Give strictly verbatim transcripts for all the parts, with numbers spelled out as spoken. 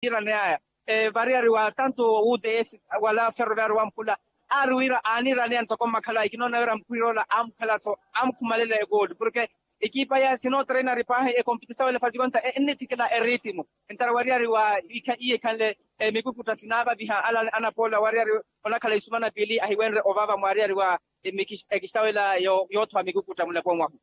aanirane aya. Variyari wa tantu uts wala ferroviario wamphula aari wira aanirane aya ntoko mmakhala aya kinoona wira mpwiroola amukhala-tho amukhumalela ekooli porke ekipa ya sinootreinari paahi ekompitisa wele fatikonta ennithikela eritimo. Entara wariyari wa iye ekhanle mikukutta sinaavaviha ala anapoola wariyari onakhala isumana piili ahiwenre ovava mwariyari wa ekistawela yoothowa mikukutta mulaponi wahu.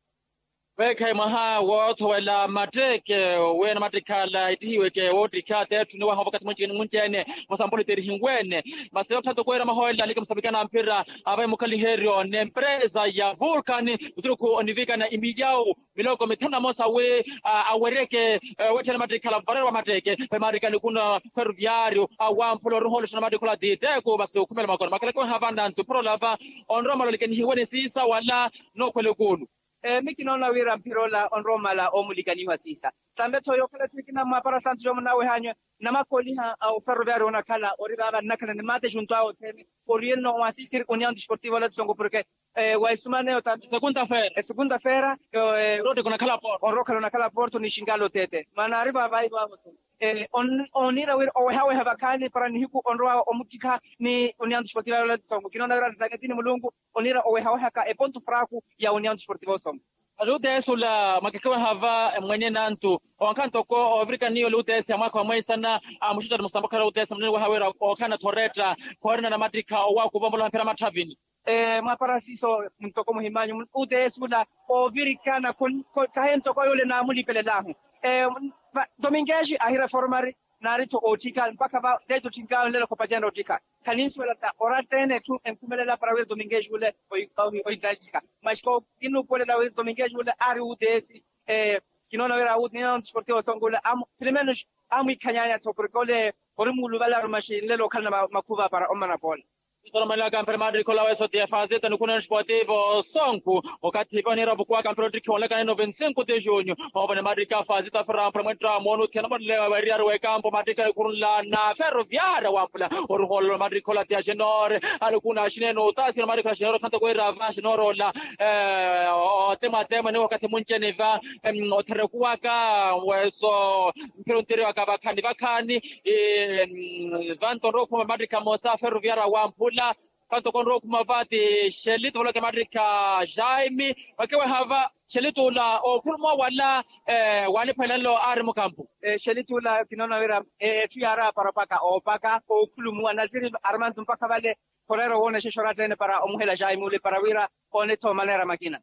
Weekhayi mwaha woothowela matteeke wi anamattikhala ettihiweke woottikha teetthuni waha wavakathi munci munci-ene. Musampuli terihinweene masi ottha toko wira mahoolela alike musapikana mphira avayi mukhaliheryo n'empresa ya vulcan. Usiruku onivikana imiyawu miloko mithanu na mosa wi aweryeke wetthene mattikhala mvarero wa matteeke. Pemaarikani kuna ferroviario awamphula oruhoolesha na mattikhala titeeku masi okhumela makona makhaleke ohavanantu phorola va onromalolike nihiwene siisa wala nookhwela ekuulu. Mii kinoona wira mphira ola onroomala oomulikaniwa siisa. Tambe-tho yookhala etthu ekina mwaapara santu yoomunawehanywe namakooliha a oferroviario onakhala ori vaava nnakhala ni maate junto awe othene. Ori enno waasisiri union disportivo ola tisongo porke wa esumaneyo tambe esukunta feera onrookhala onakhala porto ni xingalo tete manaari vaavaivo avo. Ooniira wira owehaweha vakhaani para nihiku onrowa omuttikha ni union disportivo ola tisongo kinoona wira arisaketini mulungu oniira owehawehaka epontu fraku ya union disportivo osongo. Ati uteesi ula mwakekeweha va mwenye nantu owankha ntoko ovirikaniya ole uteesi ya mwaakha wa mweisana amuxuttari musambokherya uteesi munene weha wira ookhala nathoretta khoorina namattikha owakuva omoloha mphira matthavini. Mwaapara siiso ntoko muhimanyu uteesi ula oovirikana khahi ntoko yule naamulipelelahu. Domingues ahireformari naari-tho ootthika mpakha va ndeeti otthikaawe nlelo khopacana otthika. Khaninsuwela sa oratta-ene etthu enkhumelela para wira domingues ule ohittantthika. Maxi kinuupuwelela wira domingues ule aari uteesi kinoona wira union disportivo osongo ule pelo menos amwiikhanyanya-tho porke ole ori muuluvalaru maxi nlelo okhalana makhuva para ommana poola. Soromanelaka mphira maattikhi ola weso ti efazita nikuna union disportivo osongo okathi ipa oniira ovukuwaka mphira ottikhiwa onlakana ino vinti cinco de junho. Ovana mattikhi afazita firampura mwettamoni othiyana monle weriyari wekampo mattikhi anikhurunla na ferroviaria wamphula oruhoolelo mattikhi ola ti agenore. Anikuna axineene otasira mattikhi ola agenore othanta kweera va agenore ola otemwatemwa ni wakathi munci-ene va otherekuwaka weso mphira ontiriwaka vakhaani vakhaani. Vanto onrowa okhuma mattikhi amosa ferroviaria wamphula. Kanto konrowa okhuma va ti xelito valaka mattikhi a jaime. Vakeweha va xelito ula ookhulumuwa wala waaniphwelela nlo aari mukampo. Xelito ula kinoona wira etthu yaari apara opaka oopaka ookhulumuwa nasiri armanto mpakha vale. Khorero woonexexa oratta-ene para omuhela jaime ule para wira oone-tho maneera makina.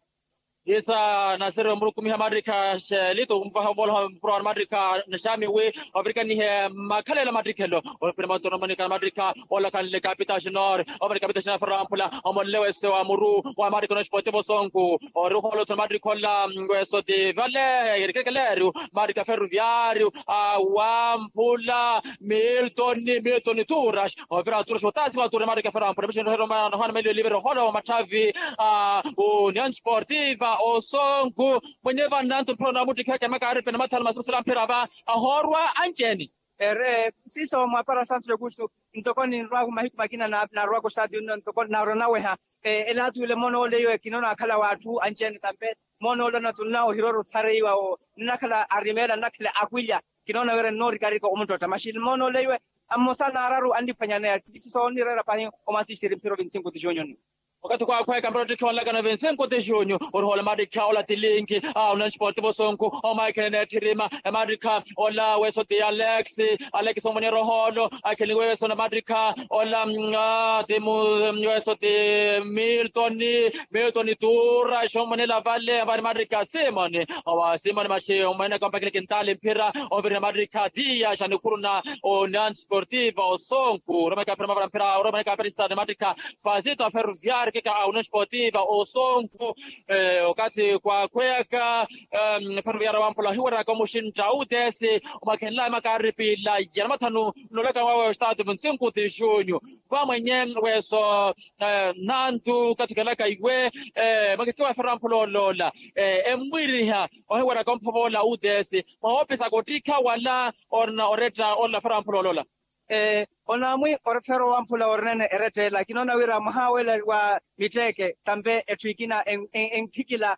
Isa nasiri omurukumiha mattikha xelito omuvaha omooloha mpuro wa mattikha na jaime wi ovirikanihe makhalelo mattikhelo. Opira matonromanika na mattikha ola khanle kapita xinor. Omani kapita xinor fera wamphula omonle wese wa muru wa mattikha na xipotivo sonku. Ori ohoolo tho na mattikha ola weso ti vale erikekelerio mattikha ferroviario awamphula milton milton turas. Ovira turas otasi wa turas mattikha fera wamphula mixinrohero manohana mailo olivera ohoolo wa matthavi a union sportiva osonku. Mwenye vannantu mphira onamuttikheke makaaripene mathanu masimusila mphira va ahoorwa anci-ene. Ere siiso mwapara santu augusto ntoko ninrwaku mahiku makina narwaka ostadio nno ntoko naronaweha. Elaatu yule monoole iwe kinoona akhala w'atthu anci-ene tampe monoole onatunna ohiroro sareiwa wo nnakhala arimeela nnakhala akwilya. Kinoona wira nnoorikarika omuttotta maxi monoole iwe mmosa naararu anniphwanyaneya. Siiso onnireera pahi omwasisiri mphira ovinti cinco ti junho nno. Okathi khwaakhweeka mpettottikhi onlakana vinti cinco ti junho. Orihoola emattikha ola ti linki a union sportivo sonku. Omaikhelene etthirimma emattikha ola weso ti alex. Alex omweneerya ohoolo akheleniwe weso na emattikha ola ti weso ti milton. Milton tuura xomwenela vale vale emattikha simoni. Owa simoni maxi omweneka ompakile kintaali mphira. Onvirina emattikha tiya xa nikhuru na union sportivo sonku oromaika mphira mavala mphira oromaika mphira isani emattikha fazito a ferroviario keka a union sportiva osonku. Okathi kwakhweyaka ferroviario wamphula ohiweraka omuxintta utesi omakhenlawe makaaripila ya namathanu nnolaka wawe ostaatu vinti cinco ti junho. Vamwenye weso nantu kathikelaka iwe mwakekewa ferroviario wamphula oloola emmwiriha ohiweraka omphovoola utesi mwawoopisa kottikha wala orina oretta ola ferroviario wamphula oloola. Onaamwi oretta ferroviario wamphula orinene eretta ela kinoona wira mwaha wela wa mitteeke tampe etthu ekina enkhikila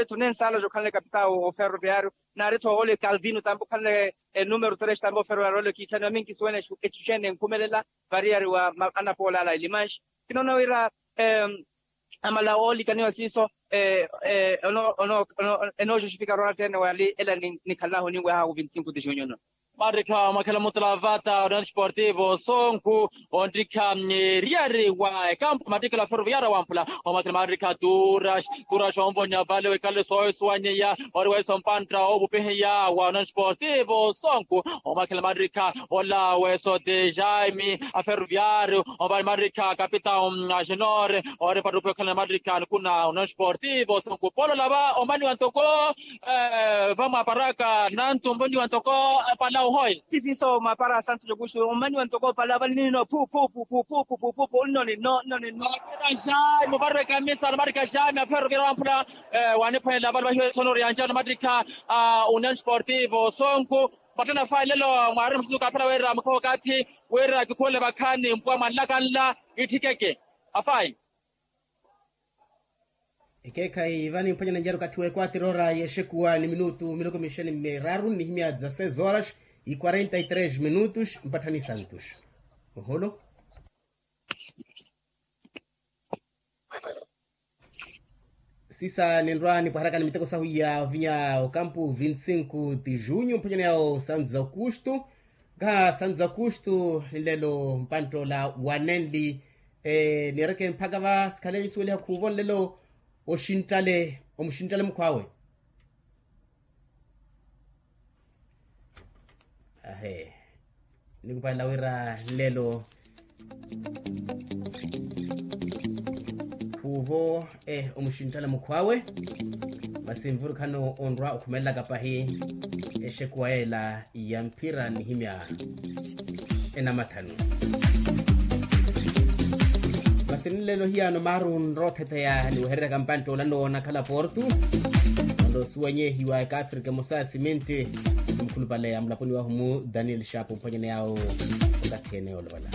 naari-tho nensaala okhanle kapitawu oferroviario, naari-tho ole kaldino tampa okhanle enumero tres tampa oferroviario ole kiitthaniwa minkisuwene echu exene enkhumelela. Variyari wa anapoolala elimanxi kinoona wira amala oolikaniwa siiso. Ono ono ono enooxoxifika roona tteene wali ela nikhalanahu oninwehahu vinti sinku ti junyo no. Marikha omakhela mutala vata union sportivo sonku, onrikha eriyari wa ekampu matikelo a ferroviaria wamphula. Omakhela marikha turas turas onvonya vale wekale soosuwanyeya ori weso mpantta oovupihiya wa union sportivo sonku. Omakhela marikha ola weso de jaime a ferroviario, omvale marikha capitao a genore ori mpattupe okhalana marikha nikuna union sportivo sonku polo lava omaniwa ntoko vamwaparaka nantu mboniwa ntoko palau hoye. Tisiso mwapara santu jokuxu omaniwa ntoko palau vali nino phu phu phu phu phu phu phu phu phu phu nno ninno nno ninno. Jami ovarwe kamisa namarika jami aferovira wamphula waniphwelela vali vahiwe etsonori yanjana namarika a union sportivo sonku. Vatthana fayi lelo mwaari mususu kaphela wira mukhoho kathi wira kikhuwele vakhaani mpuwa mwanlakanla kitthikeke afayi. Ekeekhayi vani mphwanya nanjari okathi w'ekwatira ora y'exekuwa ni minutu miloko mixeni miraru nnihimya dza seis horas e quarenta e três minutos mpatthani santos. Oholo sisa ninrwa nipwaheraka ni miteko sahu ya ovinya okampu vinti sinku ti junyu mphwanyani yawo santos aukustu. Nkaha santos aukustu nlelo mpantt'ola wanenli niireke mpakha va sikhale nisuweliha khuuvo nlelo oxinttale omuxinttale mukhw'awe. Ahe nikupalela wira nlelo khuuvo omuxinttale mukhw'awe. Masi nvurukhano onrwa okhumelelaka pahi exekuwa yeela ya mphira nnihimya enamathanu. Masi nlelo hiyaano maaru nrothetheya niwehererya kampantt'ola noona khala portu. Onrosuwanyehiwa ekaafrika emosa ya siminti mukhulupale a mulaponi wahu mu daniel shapu mphwanyani yawo okathi ene yoolovala.